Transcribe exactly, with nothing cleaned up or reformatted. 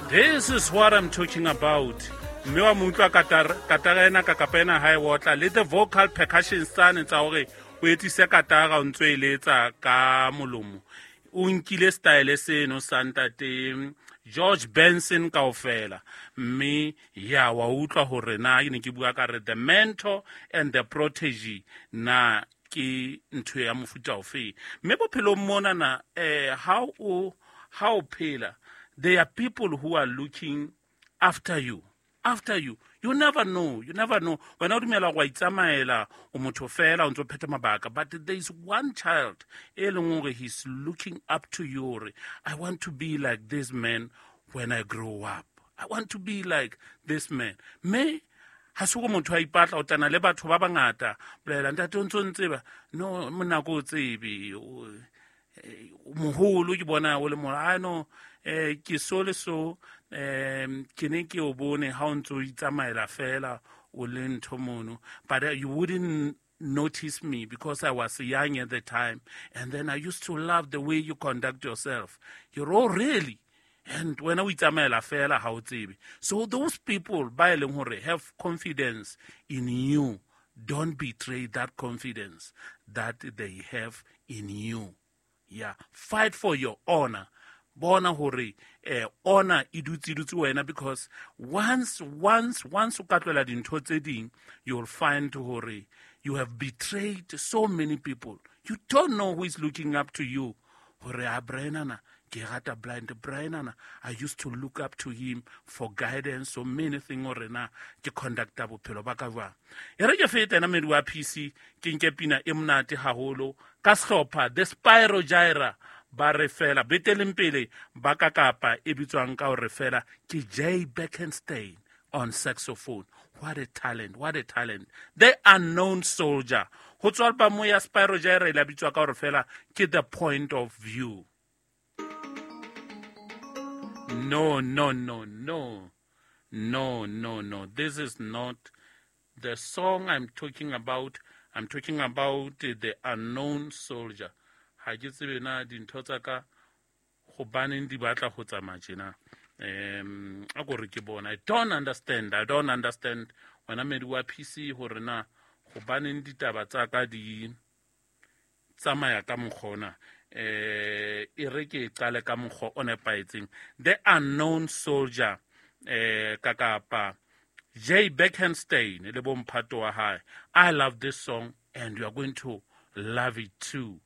This is what I'm talking about. Mme wa mo utlwa katara ena ka kapa ena ha e otla le the vocal percussion tsane tsa hore o etsise katara o ntso e letsa ka molomo. O nkile style seno sa ntate George Benson kaofela. Mme ya wa utlwa hore na ke ne ke bua ka re the mentor and the protege na ke ntho ya mofuta ofe. Mme bophelong mona na eh how o how phela, there are people who are looking after you. After you. You never know. You never know. Wena o dumela go itsamaela o motho fela o ntso phetha mabaka, but there is one child e leng hore he's looking up to you hore I want to be like this man when I grow up. I want to be like this man. Me ha se go motho a ipatla o tana le batho ba bangata bolela ntate o ntso ntseba no monna ko tsebe moholo ke bona o le mo I know eh ke so le so um ke ne ke o bone ha o ntso itsamaela fela o le ntho mono, but uh, you wouldn't notice me because I was young at the time, and then I used to love the way you conduct yourself. You're all really, and when o itsamaela fela ha o tsebe. So those people ba e leng hore have confidence in you, don't betray that confidence that they have in you. Yeah, fight for your honor. Bona hore eh honor e dutse dutse wena, because once once once o ka tlohela dintho tse ding, you'll find hore you have betrayed so many people. You don't know who is looking up to you. Hore a Brian, ke rata blind Brian, I used to look up to him for guidance, so many things hore na ke conducta bophelo ba ka jwang. E re ke fete ena medi wa P C, ke nke pina e monate haholo ka sehlopha the Spyro Gyra ba re fela beteleng pele ba ka kapa e bitswang ka hore fela ke Jay Beckenstein on saxophone. What a talent, what a talent. The Unknown Soldier. Ho tswa album ya Spyro Gyra e la bitswa ka hore fela ke The Point of View. No, no, no, no. No, no, no. This is not the song I'm talking about. I'm talking about The Unknown Soldier. Ha ke tsebe na dintho tsa ka hobaneng di batla ho tsamaya tjena. Um, a ko re ke bona. I don't understand. I don't understand. Wena medi wa P C hore na hobaneng ditaba tsa ka di tsamaya ka mokgwa ona. Eh, e re ke qale ka mokgwa o nepahetseng. The Unknown Soldier, eh, ka kapa Jay Beckenstein le bomphato wa hae. I love this song and you are going to love it too.